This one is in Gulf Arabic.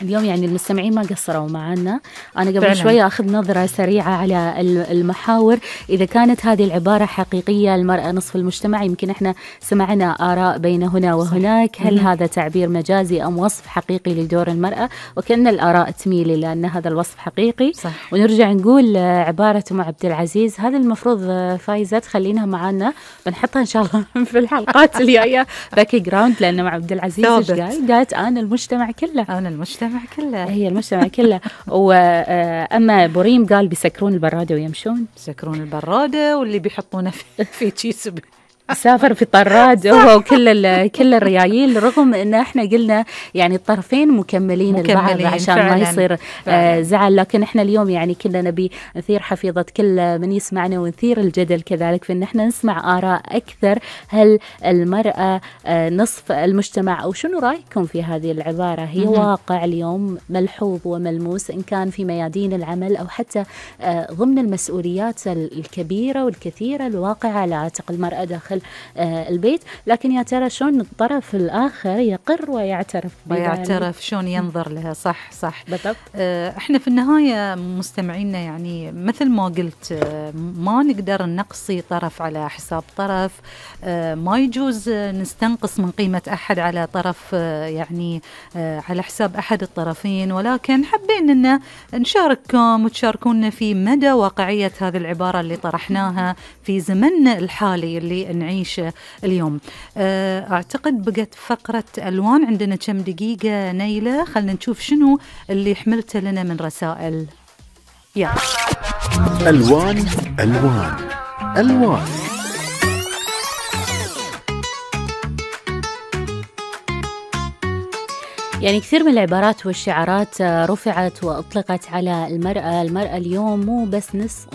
اليوم يعني المستمعين ما قصروا معنا. أنا قبل فعلاً. شوي أخذ نظرة سريعة على المحاور، إذا كانت هذه العبارة حقيقية المرأة نصف المجتمع. يمكن إحنا سمعنا آراء بين هنا وهناك، هل هذا تعبير مجازي أم وصف حقيقي لدور المرأة؟ وكأن الآراء تميل إلى أن هذا الوصف حقيقي. صح. ونرجع نقول عبارة أم عبد العزيز هذا المفروض فايزة تخلينها معنا، بنحطها إن شاء الله في الحلقات الجاية باك جراوند، لأن مع عبد العزيز إيش قالت أنا المجتمع كله. أنا المجتمع كله. هي المجتمع كله. وأما بوريم قال بيسكرون البرادة ويمشون. بيسكرون البرادة واللي بيحطونه في كيس سافر في طراد هو وكل الريايل، رغم ان احنا قلنا يعني الطرفين مكملين البعض عشان فعلاً. ما يصير زعل. لكن احنا اليوم يعني كنا نبي نثير حفيظة كل من يسمعنا ونثير الجدل كذلك في ان احنا نسمع آراء اكثر. هل المرأة نصف المجتمع او شنو رايكم في هذه العبارة؟ هي واقع اليوم ملحوظ وملموس ان كان في ميادين العمل او حتى ضمن المسؤوليات الكبيرة والكثيرة الواقعة على عاتق المرأة داخل البيت. لكن يا ترى شلون الطرف الآخر يقر ويعترف شلون ينظر لها. صح بالضبط. احنا في النهاية مستمعينا يعني مثل ما قلت ما نقدر نقصي طرف على حساب طرف، ما يجوز نستنقص من قيمة أحد على طرف يعني على حساب أحد الطرفين، ولكن حابين أن نشارككم وتشاركونا في مدى واقعية هذه العبارة اللي طرحناها في زمننا الحالي اللي نعيشه اليوم. أعتقد بقت فقرة ألوان، عندنا كم دقيقة نيلة، خلنا نشوف شنو اللي حملته لنا من رسائل. يلا ألوان ألوان ألوان. يعني كثير من العبارات والشعارات رفعت وأطلقت على المرأة اليوم مو بس نصف